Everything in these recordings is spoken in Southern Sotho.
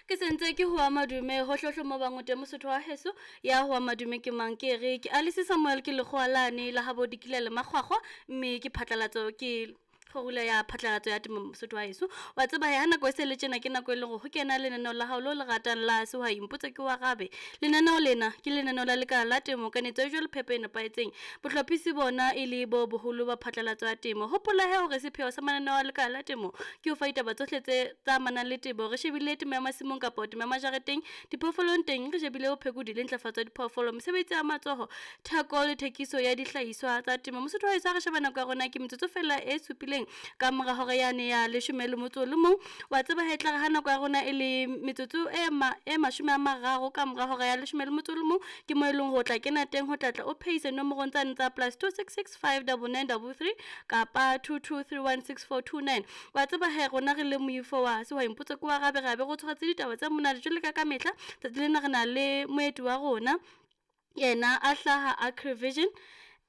Ke sentse ke hoa madume hohlohle mo bang o teng Mosotho wa heso. Ya hoa madume ke mang? Ke re ke Alice Samuel, ke lekgowa lane la habo dikila le makgwakgwa, mme ke phatlalatso ke kgorula ya phatlalatso ya temo. Mosotho wa heso, wa tseba he ha nako e se le tjena ke nako e leng hore ho kena lenaneo la hao leo le ratang la Sehwai Mpotse Ke o Arabe. Lenaneo lena ke lenaneo la lekala la temo, kanetso ya dijo le phepo e nepahetseng. Bohlophisi bona e le bo boholo ba phatlalatso ya temo. Hopola he hore sepheo sa mananeo a lekala la temo ke ho fa ditaba tsohle tse tsa amanang le temo. Re shebile temo ya masimong kapa temo ya majareteng, diphoofolong teng re shebile bophekodi le ntlafatso ya diphoofolo, mesebetsi ya matsoho, theko le thekiso ya dihlahiswa tsa temo. Mosotho wa heso, ha re sheba nako ya rona ke metsotso fela e supileng ka mora hora yane ya 11. Wa tseba he tlare ha nako ya rona e le metsotso e ma e 30 ka mora hora ya 11, ke mo e leng hore o tla kena teng ho tlatla o phehise nomorong tsane tsa +266 599 33 kapa 22316429. Wa tseba he rona re le moifo wa Sehwai Mpotse Ke o Arabe, re a be re o tshwaretse ditaba tse monate jwale ka mehla. Tsatsi lena re na le moeti wa rona, yena a hlaha Agrivision,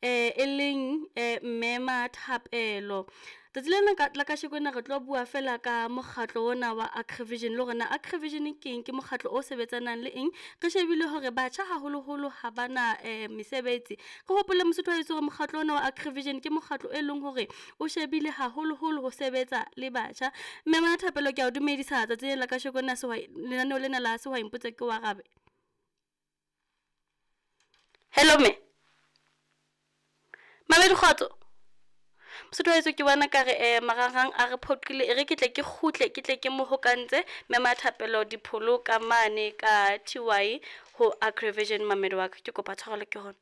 e leng mme Mathapelo. Tsatsi lena la kasheko ena re tlo bua fela ka mokgatlo ona wa Agrivision, le hore na Agrivision ke eng, ke mokgatlo o sebetsanang le eng. Re shebile hore batjha haholoholo ha bana mesebetsi. Re hopole Mosotho wa heso hore mokgatlo ona wa Agrivision ke mokgatlo e leng hore o shebile haholoholo ho sebetsa le batjha. Mme Mathapelo, ke a o dumedisa tsatsi lena la kasheko ena sehwai lenaneo lena la Sehwai Mpotse Ke o Arabe. Hello mme. Mamedi kgotso. Mosotho wa heso, ke bona ka re marangrang a re phoqile, e re ke tle ke kgutle ke tle ke mo hokantse mme Mathapelo dipholo ka mane ka TY ho Agrivision. Mamedi wa ka, ke kopa tshwarelo ke hona.